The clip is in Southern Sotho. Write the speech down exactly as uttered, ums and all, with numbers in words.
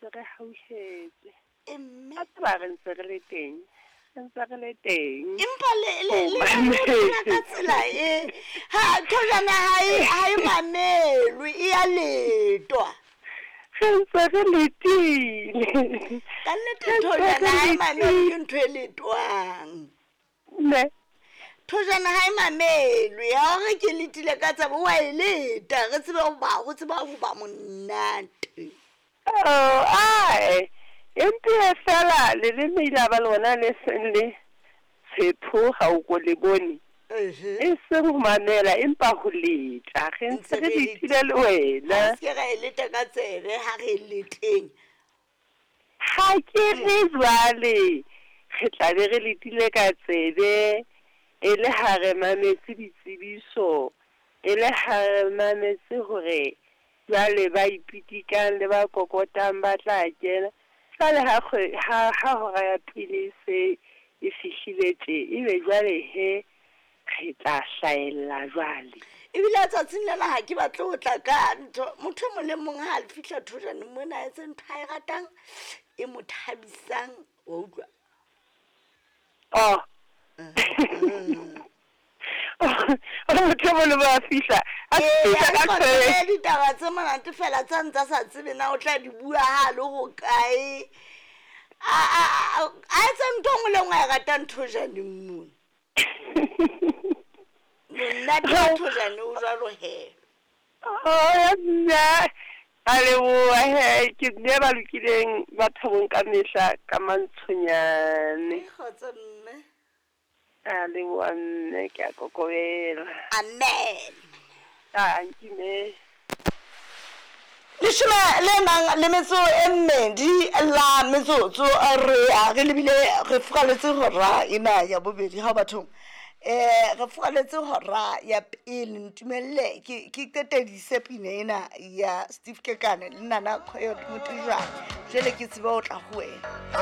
ntse re hauhetswe. E mme A tseba re ntse re le teng, re ntse re le teng. Empa le le le le phela ka tsela e ha thojana ha e ha e mamelwe, e ya letwa. Re ntse re letile. Ka nnete thojana ha e mamelwe, ke ntho e letwang. Ne. Thojana ha e mamelwe, ya hore ke letile ka tsebe wa e leta, re tsebe ho ba ho tseba ho ba monate. Oh, ae. Empe fela leleme ile ba lona le seng le tshepho ha o ko le bone. E seng ho mamela empa ho leta. Re ntse re letile le wena. Ha se ra e leta ka tsebe ha re leteng. Ha ke re jwale re tla be re letile ka tsebe e le ha re mametse ditsebiso, e le ha re mametse hore jwale ba ipitikang le ba kokotang ba tla kena. Jwale ha ha ha hora ya pele se e fihlile tje, ebe jwale he re tla hlahella jwale. Ebile tsatsing lena ha ke batle ho tla ka ntho, motho e mong le mong ha a fihla thojane mona a etse ntho a e ratang e mo thabisang, wa utlwa? Oh. Motho e mong le mong a fihla, a fihla ka tjhe. Ditaba tse monate fela tsa ntsa sa tsebe na o tla di bua ha le ho kae. A a a etse ntho nngwe le nngwe a e ratang thojaneng mona. Monate wa thojane o jwalo he. Oh, nna a leboha he, ke mme ba lokileng ba thabong ka mehla ka mantshonyane. Kgotso mme. A leboha mme, ke a kokobela. Amen. Ankime. Leshome le nang le metso e mmedi la metsotso re a re lebile re furaletse hora ena ya bobedi ha bathong. Eh re furaletse hora ya pele, ntumelle ke ke qetedise pina ena ya Steve Kekane le Nana Coyote Motijane. Jwale ke tsebe ho tla ho wena.